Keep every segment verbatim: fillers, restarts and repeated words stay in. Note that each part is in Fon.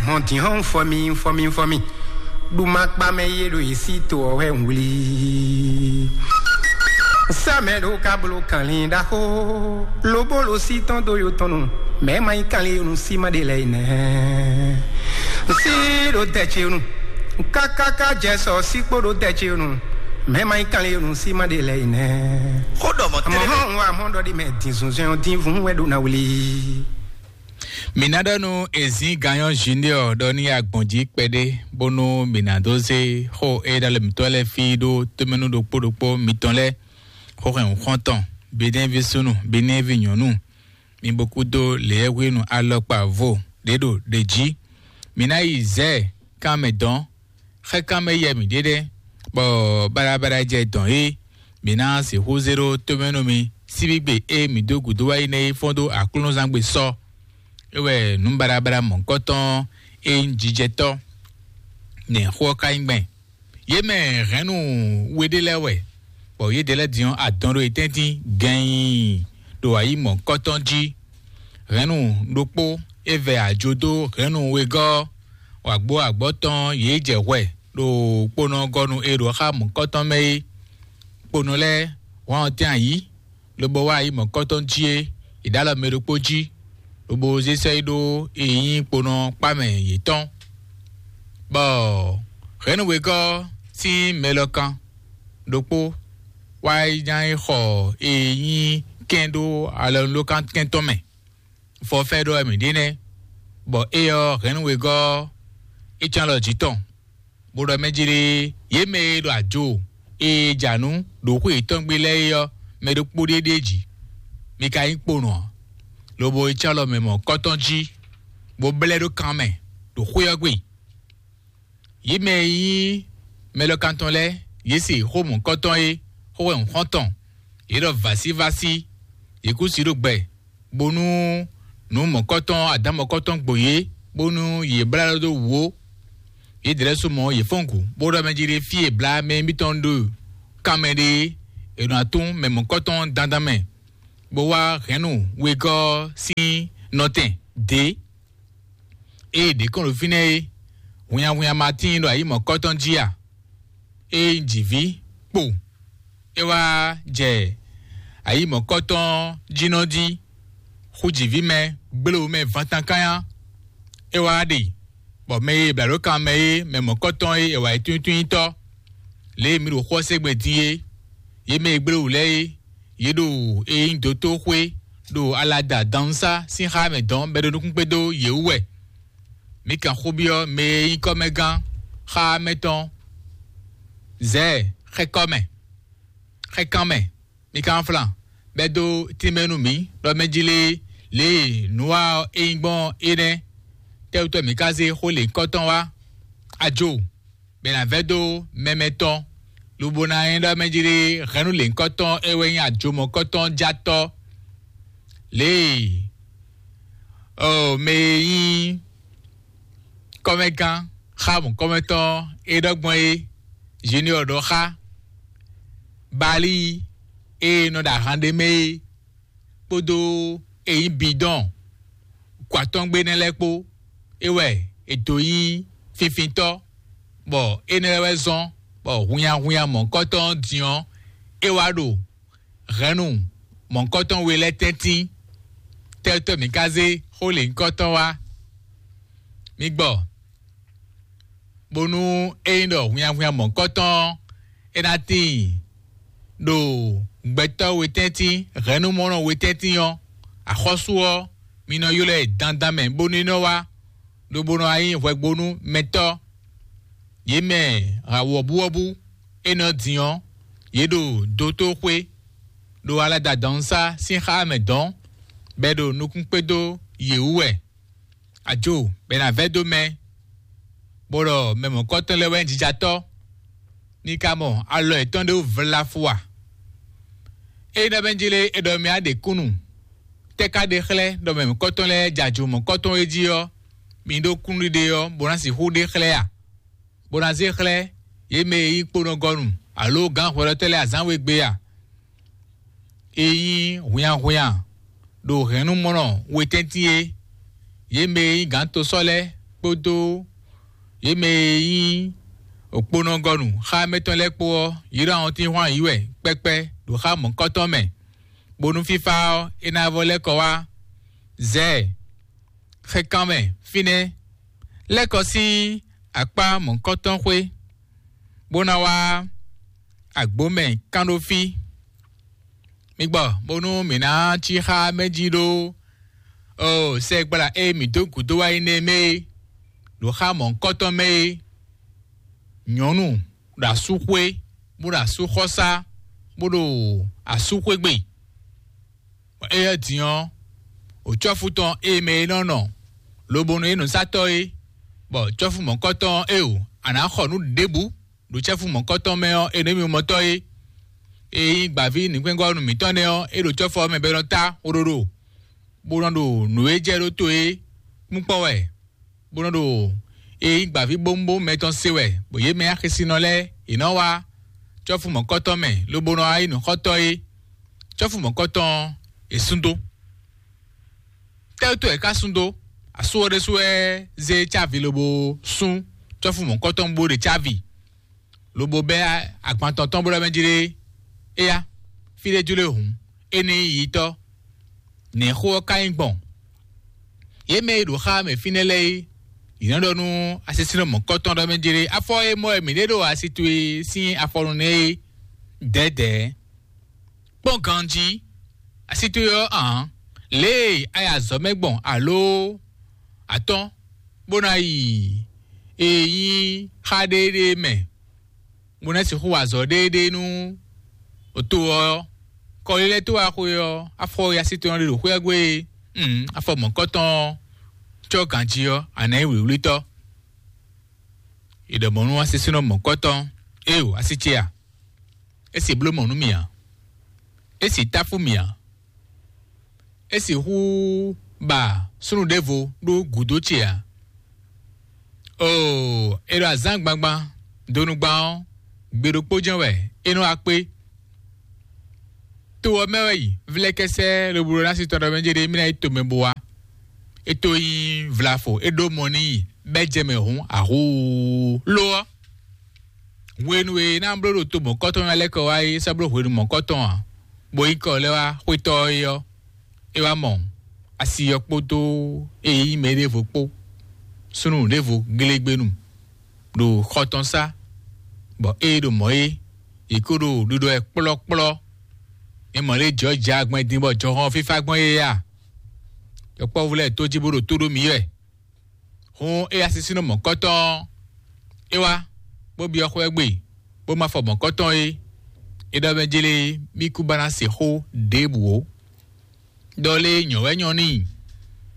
Hɔn din hɔn fɔ mi fɔ mi fɔ mi. Ɖu ma kpa mɛ ye ɖo yi sí to ɔ́ wɛ wlí. Sɛmɛ ɖo ka blo kanlin ɖaxó. Lobolo sí tɔn do yo tɔn nu. Mɛ ma yi kanlin yo nu sí ma ɖe lɛ yi nɛ. Sí ɖo tɛ ce nu. Kákáká jɛ sɔ sí kpó ɖo tɛ ce nu. Mɛ ma yi kanlin yo nu sí ma ɖe lɛ yi nɛ. Xó ɖɔ mɔ Mɔ tɛnɛ. Hɔn wa mɔ ɖɔ ɖi mɛ din zunzɛn ɔ din vun wɛ ɖo na wlí. Mǐ ná ɖɔ nú Ezín Ganyɔ́ Junior ɖɔ ní agbɔ̌n jí kpɛɖé, bónú mǐ ná dó zé xó e ɖo alɔ mǐtɔn lɛ́ɛ fí ɖó tómɛnú ɖokpó ɖokpó mitɔn lɛ́ɛ, xó hɛn xɔ́ntɔn, Benɛ́ví súnnu, Benɛ́ví nyɔ̌nu, mi bo kúdó lěɛ́hwenu alɔkpa vo ɖě ɖo ɖě jí. Mǐ ná yi zɛ̌ kan mɛ dɔn, xɛkánmɛ yɛ mǐ ɖe ɖe, bɔ baɖabaɖa jɛ dɔn é, mǐ ná sixú zé ɖó tómɛ nú mi síbígbe e mǐ dó gǔdo wá yi nɛ́ é fɔ́n dó aklúnɔzán gbe sɔ. É wɛ nǔ baɖabaɖa mɔ̌hunkɔtɔn e nyí jijɛtɔ́ nɛ̌ xó ɔ́ ka nyí gbɛn. Yě mɛ hɛ̌nnu we ɖé lɛ́ɛ wɛ, bɔ yědɛɛ lɛ́ɛ din ɔ́, adɔn ɖo yě tɛ́ntin gɛ̌in ɖo ayǐ mɔ̌hunkɔtɔn jí. Hɛ̌nnu ɖokpó é vɛ ajo dó hɛ̌nnu wegɔ́ ɔ́, wǎgbó agbɔ̌ tɔn yě jɛ hwɛ ɖo kponɔgɔnu e ɖo xá mɔ̌kɔtɔn mɛ é. Kponɔ lɛ́ɛ hwan ɔ́ tɛ́n ayǐ, lobo wá ayǐ mɔ̌kɔtɔn jí é, è ɖǒ alɔ mɛ ɖokpó jí, lobo zé sɔ́ yi ɖó e nyí kponɔ kpá mɛ yětɔn. Bɔ hɛ̌nnu wegɔ́ sín mɛlɔkan ɖokpó wá yi ná yi xɔ e nyí kɛn ɖó alɔnulókan kɛntɔ́ mɛ. Fɔfɛ́ ɖɔ wɛ mǐ ɖe nɛ́, bɔ éyɛ́ ɔ́, hɛ̌nnu wegɔ́ ɔ́, é cán alɔ jǐ tɔn, bó ɖɔ mɛ jí ɖé, yě mɛ e ɖo ajo e ja nǔ ɖo xwé yětɔn gbe lɛ́ɛ é ɔ́, mɛ ɖokpó ɖé ɖ'é jí. Mi ka nyí kponɔ ǎ, lobo é cán alɔ mɛ mɔ̌kɔtɔn jí, bó blɛ́ ɖó kan mɛ ɖo xwé ɔ́ gbe. Yě mɛ e nyí mɛlɔkantɔn lɛ́ɛ, yě se xó mɔ̌kɔtɔn é, xó wɛ un xɔ́n tɔn. Yě ɖɔ vǎsívásí, yě kú sí ɖó gbɛ, bónú nǔ mɔ̌kɔtɔn, adǎn mɔ̌kɔtɔn gbo yě, bónú yě blá ɖó wǔ ó. Yědɛɛ lɛ́ɛ su mɔ̌, yě fɔ́n gǔ, bó ɖɔ mɛ jí ɖé fí e blá mɛ émítɔn ɖo kanmɛ ɖe é, è nɔ atún mɛ mɔ̌kɔtɔn dandan mɛ, bó wá hɛ̌nnu wegɔ́ sín nɔtɛn dě. Ée ɖě kɔn ɖo fínɛ́ é, hunnyahunnya ma tíin ɖo ayǐ mɔ̌kɔtɔn jí a? Ée un ji vǐ kpo, é wá jɛ ayǐ mɔ̌kɔtɔn jínɔ jí, xú ji vǐ mɛ, gbléwú mɛ vantankánya, é wá ɖe, bɔ mɛ e è blǎ ɖó kan mɛ é, mɛ mɔ̌kɔtɔn e è wa yi túntúntɔ́, lě e mi ɖo xó ɔ́ se gbɛn din é, yě mɛ e gbléwú lɛ́ɛ é, yě ɖo e nyí dotóxwé ɖo alada dannúsá sín xá mɛ dɔn bɔ é ɖo nukún kpé dó yě wú wɛ. Mi kan xó byɔ́ mɛ e nyí kɔ́mɛgán xá mɛ tɔn Zɛ̌ɛ xɛkɔ́mɛ, xɛkánmɛ, mi kan flan bɛ́ dó tínmɛ nú mǐ ɖɔ mɛ jí lé lě e nǔ wa ɔ́ é nyí gbɔn é nɛ́. Tɛ́wútɔ́ mǐ ka zé xó lěhunkɔtɔn wá? Ajo, bɔ è nǎ vɛ́ dó mɛmɛ tɔn, lobo ná nyí ɖɔ mɛ jí lé hɛ̌nnu lěhunkɔtɔn é wɛ nyí ajomɔkɔtɔn játɔ́. Lě e ɔ mɛ e nyí kɔ́mɛgán xá mɔ̌kɔ́mɛtɔ́ e ɖɔ gbɔn é, Junior ɖɔ xá Bali e nɔ ɖo ahan ɖé mɛ é, kpódó e nyí bidɔn kɔ atɔ́ngbe nɛ́ lɛ́ɛ kpó, é wɛ è dǒ nyí finfintɔ́, bɔ énɛ́ lɛ́ɛ wɛ zɔ́n bɔ hunnyahunnya mɔ̌hunkɔtɔn ɔ́ din ɔ́, é wá ɖo hɛ̌nnu mɔ̌hunkɔtɔn we lɛ́ɛ tɛ́ntin. Tɛ́tɔ́ mǐ ka zé xó lěhunkɔtɔn wá? Mi gbɔ, bónú ényí ɖɔ hunnyahunnya mɔ̌hunkɔtɔn ɔ́, é ná tíin ɖo gbɛtɔ́ wetɛ́ntin, hɛ̌nnumɔnɔ wetɛ́ntin ɔ́, axɔ́sú ɔ́, mi nɔ ylɔ́ ɛ dandan mɛ bónú é nɔ wá, lobo nɔ wá nyí hwɛgbónú mɛtɔ́. Yě mɛ wɔ̌buwɔ́bú énɛ́ ɔ́ din ɔ́, yě ɖo dotóxwé, ɖo alada dɔ̌nsá sín xá mɛ dɔ̌n, bɔ è ɖo nukún kpé dó yě wú wɛ. Ajo, bɔ è nǎ vɛ́ dó mɛ, bó ɖɔ mɛ mɔ̌kɔtɔn lɛ́ɛ wɛ nyí jijatɔ́, ní ka mɔ alɔ yětɔn ɖé wú vlafu a? Ényí ɖɔ mɛ jí lé, è ɖɔ mɛ á ɖe kúnnu, tɛ́ ka ɖe xlɛ́ ɖɔ mɛ mɔ̌kɔtɔn lɛ́ɛ jɛ ajo mɔ̌kɔtɔn e jí ɔ́, mi ɖó kúnnuɖiɖe ɔ́, bó ná sixú ɖe xlɛ́ a? Bó ná zé xlɛ́ yě mɛ e nyí kponɔgɔnu alo gǎn hwɛɖɔtɔ́ lɛ́ɛ azǎn we gbe a? E nyí hwinnyahwinnya ɖo hɛ̌nnumɔnɔ wetɛ́ntin é, yě mɛ e nyí gǎntosɔ́ lɛ́ɛ kpódó yě mɛ e nyí òkponɔgɔnu xá mɛtɔn lɛ́ɛ kpó ɔ́, yě ɖo awɔntín hwan yǐ wɛ kpɛkpɛ ɖo xá mɔ̌kɔtɔn mɛ, bónú fífá ɔ́, é ná vɔ lɛ́ kɔ wá zɛ xɛkanmɛ fínɛ́, lɛ́ kɔ sín akpá mɔ̌kɔtɔn xwé, bó ná wá agbǒ mɛ kán ɖó fí. Mi gbɔ bónú mǐ ná cí xá mɛ jí ɖó o sɛgbla e mǐ dó gǔdo wá yi nɛ́ mɛ é, ɖo xá mɔ̌hunkɔtɔn mɛ é, nyɔ̌nu ɖo asúxwé, bó ɖo asúxɔsá, bó ɖo asúxwé gbe. Bɔ éyɛ́ din ɔ́, wǒcɔ́fú tɔn e mɛ é nɔ nɔ, lobo nɔ nyí nǔsatɔ́ é, bɔ cɔ́fú mɔ̌kɔtɔn ɔ́, é o, a nǎ xɔ nǔ ɖěbǔ ɖo cɛ́fú mɔ̌kɔtɔn mɛ ɔ́, é nɔ nyí mimɔtɔ́ é. E nyí gbǎví nǔkpɛ́ngɔ́ nú mǐtɔn nɛ́ ɔ́, é ɖo cɔ́fɔ ɔ́ mɛ bɔ é nɔ tá xóɖóɖó, bó nɔ ɖo nǔ e jɛ ɖó to é kpínkpɔ́n wɛ, bó nɔ ɖo e nyí gbǎví bómúbómú mɛ tɔn se wɛ, bɔ yě mɛ axésinɔ lɛ́ɛ yě nɔ wá cɔ́fú mɔ̌kɔtɔn mɛ, lobo nɔ wá nyí nǔxɔ́tɔ́ é. Cɔ́fú mɔ̌kɔtɔn ɔ́, è sún dó. Tɛ́ wútu wɛ è ká sún dó? Asú ɔ́ ɖésú wɛ zé cávi lobo sún cɔ́fú mɔ̌kɔtɔn bó ɖe cávi, lobo bɛ́ agban tɔn tɔn bó ɖɔ mɛ jí ɖé: Éyá, fí ɖé jló e hǔn, é ní nyí yitɔ́. Nɛ̌ xó ɔ́ ka nyí gbɔn? Yě mɛ e ɖo xá mɛ fínɛ́ lɛ́ɛ é, yě nɔ ɖɔ nú asisínɔ mɔ̌kɔtɔn ɖɔ mɛ jí ɖé: Afɔ e mɔ wɛ mǐ ɖe ɖo asi towe sín afɔnu nɛ́ é, dɛ̌dɛ̌. Kpɔ́n ganjí, asi towe ɔ́ ǎ, lě e a yi azɔ̌ mɛ gbɔn aló atɔ́n, bó ná yi e nyí xá ɖéeɖée mɛ, bó ná sixú wa azɔ̌ ɖéeɖée nú to ɔ́, kɔlílɛ́ tó wá xwe ɔ́, afɔ e asi towe ɔ́ ɖe ɖo xwé ɔ́ gbe é, afɔ mɔ̌kɔtɔn ɔ́ cɔ́ ganjí ɔ́, a nǎ nyí wlǐwlítɔ́. È ɖɔ mɔ̌ nú asisínɔ mɔ̌kɔtɔn: Éeǒ, así ce a? É sì bló mɔ̌ nú mì ǎ. É sì táfú mì ǎ. É sixú ba súnnu ɖěvo ɖó gǔdo ce ǎ. Oo, è ɖo azǎn gbangban, donugban ɔ́, gbe ɖokpó jɛ́n wɛ é nɔ wá kpé. To ɔ́ mɛ wɛ yi vlɛ́kɛ́sɛ́ lobo ɖó ná sí tɔn ɖɔ mɛ jɛ ɖe mí ná yi tomɛ bo wá. É tó nyí vlafo, é ɖó mɔ n'i, bɛ́ jɛ mɛ hǔn ahuu. Lo ɔ́, hwenu e é ná bló ɖo to mɔ̌kɔtɔn ɔ́ lɛ́ kɔ wá é sɔ́ bló hwenu mɔ̌kɔtɔn ǎ, bó nyí kɔ lɛ́ wá xwétɔ́ ɔ́ é ɔ́, é wá mɔ asi ɔ́ kpódó eye nyí mɛ ɖěvo kpó, súnnu ɖěvo glégbénu ɖo xɔ tɔn sá, bɔ ée ɖo mɔ̌ é, yě kó ɖo ɖiɖɔ ɛ kplɔ́kplɔ́. Mi mɔ lě jɔ̌ jɛ agbɛ́n din bɔ jɔhɔn ɔ́ fífá gbɔn é a? Yɔkpɔ́vú lɛ́ɛ tó jí bó ɖo tó ɖó mǐ wɛ. Hǔn é asisínɔ mɔ̌kɔtɔn ɔ́, é wá, bó byɔ́ xwɛ gbe, bó má fɔ mɔ̌kɔtɔn é. É ɖɔ mɛ jlé mí kú ba ná se xó ɖěbǔ ó. Ɖɔ lé nyɔ̌ wɛ nyɔ́ n'i,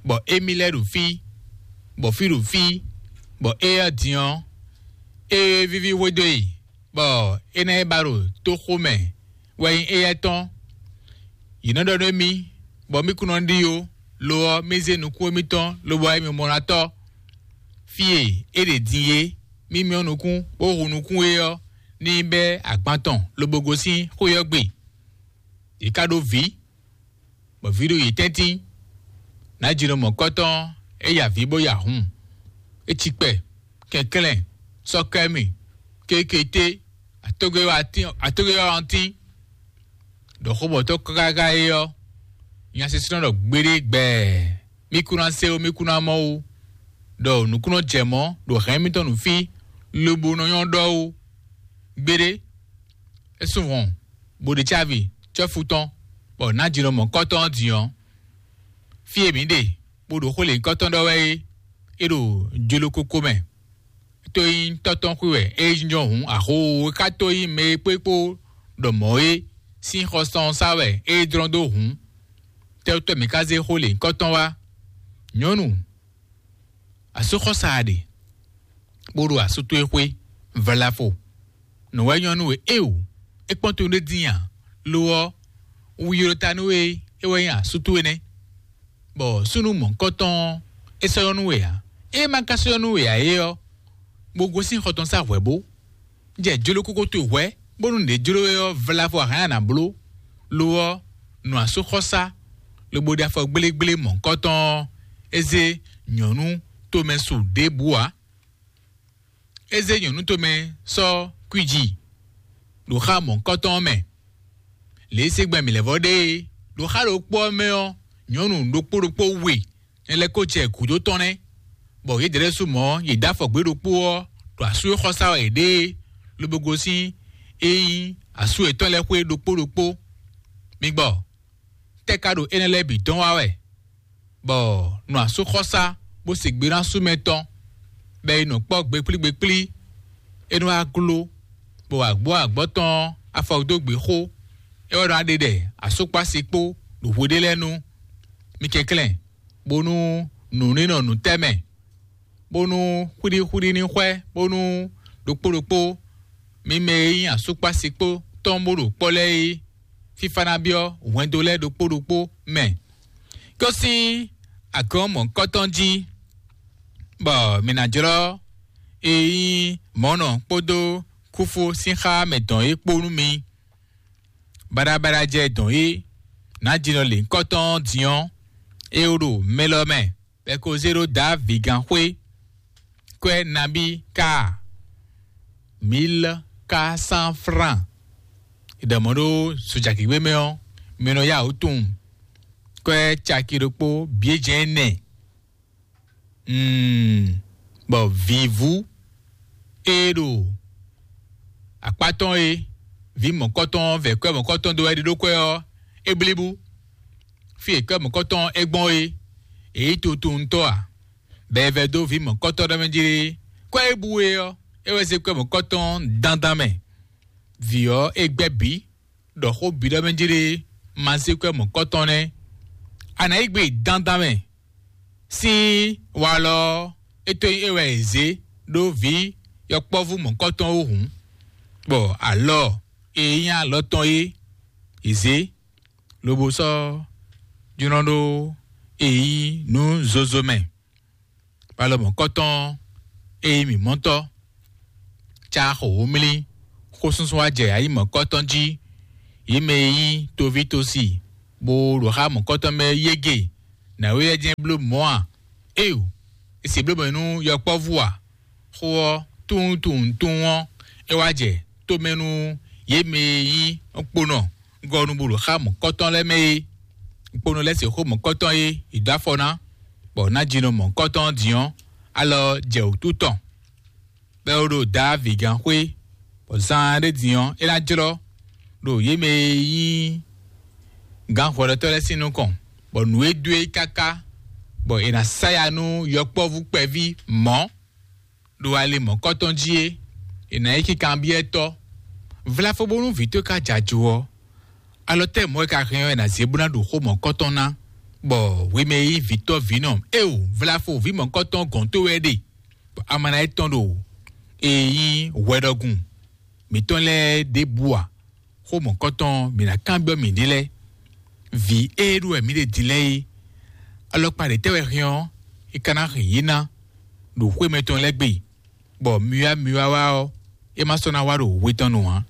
bɔ émí lɛ́ɛ ɖo fí, bɔ fí ɖo fí, bɔ éyɛ́ din ɔ́, é víví hwedó e, bɔ é ná yi ba ɖo tóxó mɛ wɛ nyí éyɛ́ tɔn. Yě nɔ ɖɔ nú émí, bɔ mí kún nɔ ɖi ó; lo ɔ́, mí zé nukún émítɔn lobo wá émí mɔ ná tɔ́. Fí e é ɖe din é, mí myɔ́ nukún, bó hu nukún é ɔ́, ní bɛ́ agban tɔn lobo gosín xwé ɔ́ gbe. Yě ká ɖó vǐ, bɔ vǐ ɖo yě tɛ́ntin. Nǎjínɔ mɔ̌kɔtɔn ɔ́, é ya vǐ bó ya hun. É cikpɛ, kɛnklɛ́n, sɔ́kɛ́mì, kékété, atógwéwátín, atógwéwátín, ɖɔ xó mɔ̌tɔn káká é ɔ́, nya sísúnɔ ɖɔ gbeɖé gbɛɛ, mí kún ná se ó, mí kún ná mɔ ó, ɖɔ nǔkúnnɔ jɛ mɔ̌ ɖo hɛ̌n mitɔn nú fí, lobo nɔ nyɔ́ ɖɔ ó. Gbeɖé, é sú hɔn, bó ɖe cávi cɔ́fu tɔn, bɔ nǎjínɔ mɔ̌kɔtɔn ɔ́ din ɔ́, fí e mǐ ɖe, bó ɖo xó lěhunkɔtɔn ɖɔ wɛ é, é ɖo jlokoko mɛ. Tó nyí tɔ́ tɔn xwé wɛ é jínjɔ́n hǔn, axó e ka tó nyí mɛ e kpó é kpó ɖɔ mɔ̌ é sín xɔsán ɔ́ sá wɛ é dlɔ́n dó hǔn. Tɛ́wútɔ́ mǐ ka zé xó lěhunkɔtɔn wá? Nyɔ̌nu, asúxɔ́sa a ɖe, bó ɖo asú towe xwé, vlafo. Nǔ wɛ nyɔ́ nú we éeǒ, é kpɔ́n towe ɖé dín ǎ; lo ɔ́, wu ylɔ́ ta nú we, é wɛ nyí asú towe nɛ́. Bɔ súnnu mɔ̌hunkɔtɔn ɔ́, é sɔ́ nyɔ́ nú we ǎ. Ée ma ka sɔ́ nyɔ́ nú we ǎ é ɔ́, bó gosín xɔ tɔn sá hwɛ̌ bó. Jɛ jlokoko towe hwɛ̌, bónú nǔ e jló we ɔ́ vlavo a hɛn a nǎ bló. Lo ɔ́, nɔ asúxɔ́sá, lobo ɖe afɔ gblégblémɔ̌hunkɔtɔn ɔ́, é zé nyɔ̌nu tomɛ su ɖěbǔ ǎ. É zé nyɔ̌nu tomɛ sɔ́ kwíji ɖo xá mɔ̌hunkɔtɔn ɔ́ mɛ. Lě e se gbɛn mǐ lɛ́ vɔ ɖe é, ɖo xá ɖokpó ɔ́ mɛ ɔ́, nyɔ̌nu ɖokpó ɖokpó we nɛ́ lɛ́ kó jɛ gǔdo tɔn nɛ́, bɔ yědɛɛ lɛ́ɛ su mɔ̌ yě dó afɔ gbé ɖokpó ɔ́ ɖo asú e xɔ sá wɛ yě ɖe é, lobo gosín e nyí asú yětɔn lɛ́ɛ xwé ɖokpó ɖokpó. Mi gbɔ, tɛ́ ka ɖo énɛ́ lɛ́ɛ bǐ dɔn wá wɛ, bɔ nɔ asúxɔsá bó se gbe ná sú mɛ tɔn, bɔ è nɔ kpɔ́ gbekplí gbekplí, é nɔ wá gló, bɔ wǎ gbɔ agbɔ̌ tɔn afɔ dó gbe xó, é wɛ nɔ wá ɖe ɖɛ asúkpási kpó ɖo hweɖé lɛ́ɛ nu. Mi kɛnklɛ́n, bónú nǔ ní nɔ nǔ tɛ́ mɛ, bónú xwíɖíxwíɖí ní xwɛ, bónú ɖokpó ɖokpó mi mɛ e nyí asúkpásikpó tɔn bó ɖo kpɔ́ lɛ́ɛ é, fífá ná byɔ́ hwɛndo lɛ́ɛ ɖokpó ɖokpó mɛ. Kó sín agɔ̌n mɔ̌hunkɔtɔn jí, bɔ mǐ ná jlɔ́ e nyí mɔ̌nɔ kpódó kúfú sín xá mɛ dɔn é kpó nú mi. Baɖabaɖa jɛ dɔn é, nǎjínɔ lěhunkɔtɔn ɔ́ din ɔ́, é wó ɖo mɛ lɔ mɛ, bɔ è ko zé ɖó Davígan xwé. Kwɛ́ nabí ka? Mil ka san fran. È ɖɔ mɔ̌ ɖó sojagěgbé mɛ ɔ́, mi nɔ yá wǔ tunwun. Kwɛ́ caki ɖokpó bǐ é jɛ́n ɛnɛ. Mm, bɔ vǐvú e ɖo akpá tɔn é, vǐ mɔ̌kɔtɔn vɛ̌ kwɛ́ mɔ̌kɔtɔn dó wɛ ɖe ɖó kwɛ́ ɔ́, é blíbú. Fí e kwɛ́ mɔ̌kɔtɔn é gbɔn é, é yí tutuntɔ́ ǎ, bɔ è vɛ́ dó vǐ mɔ̌kɔtɔn ɖɔ mɛ jí é. Kwɛ́ é bú é ɔ́, é wɛ zé kwɛ́ mɔ̌kɔtɔn dandan mɛ. Vǐ ɔ́, é gbɛ́ bǐ, ɖɔ xó bǐ ɖɔ mɛ jí ɖé ma zé kwɛ́ mɔ̌kɔtɔn nɛ́. A nǎ yí gbe dandan mɛ sín walɔ ɔ́, é tó nyí é wɛ è zě ɖó vǐ yɔkpɔ́vú mɔ̌kɔtɔn ó hǔn, bɔ alɔ e nyí alɔ tɔn é è zě, lobo sɔ́ jlɔ́n ɖó e nyí nǔ zozo mɛ. Palɔmɔ̌kɔtɔn e nyí mǐmɔ́tɔ́, cá xo wǒmlí, xósúsú wá jɛ ayǐ mɔ̌kɔtɔn jí, yě mɛ e nyí toví tosi, bó ɖo xá mɔ̌kɔtɔn mɛ yége, nǎwe lɛ́ɛ jɛ́n bló mɔ̌ a? Éeǒ, è se bló mɔ̌ nú yɔkpɔ́vú a? Xó ɔ́, tunwun tunwun tunwun ɔ́, é wá jɛ tomɛ nú yě mɛ e nyí kponɔ gɔ́ nú bó ɖo xá mɔ̌kɔtɔn lɛ́ɛ mɛ é. Kponɔ lɛ́ɛ se xó mɔ̌kɔtɔn é, è dó afɔ ná, bɔ ná jinɔ mɔ̌kɔtɔn ɔ́ din ɔ́, alɔ jɛ wǔtu tɔn, bɔ é ɖo Davígan xwé, bɔ zaan ɖé din ɔ́, é ná jlɔ́ ɖo yě mɛ e nyí gǎn hwɛɖɔtɔ́ lɛ́ɛ sín nukɔn, bɔ nǔ e dó e káká, bɔ è nǎ sá ya nú yɔkpɔ́vú kpɛví mɔ̌ ɖo ali mɔ̌kɔtɔn jí é, è nǎ yi kinkanbyɔ́ tɔ́. Vlafo bónú vǐ towe ka jɛ ajo ɔ́, alɔ tɛ́ mɔ̌ e ka hɛn ɔ́, è nǎ zé bó ná ɖo xó mɔ̌kɔtɔn ná, bɔ hwi mɛ e nyí vǐtɔ́ vǐnɔ éeǒ, vlafo vǐ mɔ̌kɔtɔn gɔ̌n towe wɛ ɖe, bɔ a ma ná yi tɔn ɖo e nyí hwɛɖɔgun mǐtɔn lɛ́ɛ ɖěbǔ ǎ. Xó mɔ̌kɔtɔn mǐ ná kanbyɔ́ mǐɖée lɛ́ɛ. Vǐ e ɖo wɛ mǐ ɖe din lɛ́ɛ é, alɔkpa ɖě tɛ́ wɛ hɛn ɔ́, é ka ná hɛn yě ná ɖo xwé mɛtɔn lɛ́ɛ gbe, bɔ myɔ́wá myɔ́wá ɔ́, é ma sɔ́ ná wá ɖo hwe tɔn nu ǎ.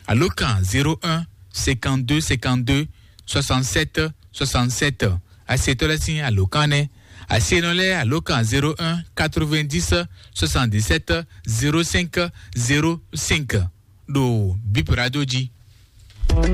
Alǒkan zéro un cinquante-deux cinquante-deux soixante-sept soixante-sept. Asetɔ́ lɛ́ɛ sín alǒkan nɛ́. Asenɔ lɛ́ɛ alǒkan zéro un quatre-vingt-dix soixante-dix-sept zéro cinq zéro cinq ɖo Bip Radio jí.